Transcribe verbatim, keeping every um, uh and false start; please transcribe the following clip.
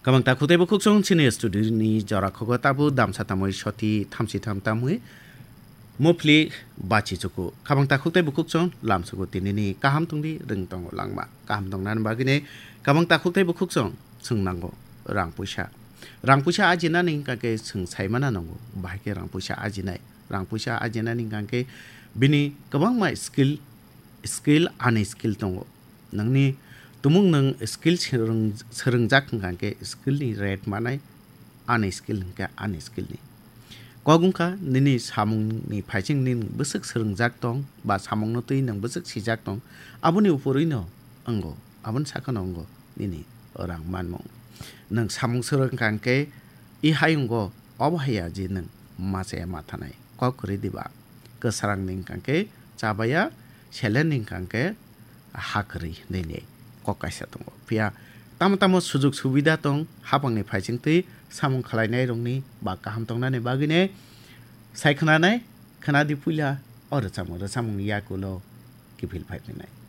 Kabang takhuk tei bukhuk chwng chini studio ni jora khogo tabu damsa tamwi soti thamsi tham tamwi mopli bachi chuku. Kabang takhuk tei bukhuk chwng lam suku tinini kaham tongdi rwng tongo langma. Kaham tongnani bagwini kabang takhuk tei bukhuk chwng chwng nango rang puisa. Rang puisa ajinani hwnkha khe chwng saimana nango bahai khe rang puisa ajinai. Rang puisa ajinani hwnkha khe bini kwbangma skill, skill ani skill tongo. Nangni tumung nang skill swrwng-, swrwngjak hwnkha khe skill ni rate manai ani skill hwnkha ani skill ni. Kok wngkha nini samung ni phaising nini bwswk swrwngjak tong ba samung no twi nang bwswk sijak tong aboni upor wi no wngo aboni sakha no wngo nini rang manmung. Nang samung swrwng hwnkha khe i hai wngo obo haiya je nang machaya mathanai kok kwrwi diba kwsarang ni hwnkha khe chabaya selen ni hwnkha khe ha kwrwi hinwi ni kok kaisa tongo. Phiya tamo tamo sujug subida tong, hapangni phaising twi samung khwlainai rokni ba kaham tongnani bagwini sai khwnanai, khwnadi puila o rwchapmung, rwchapmung yakulo kiphil phai phinai.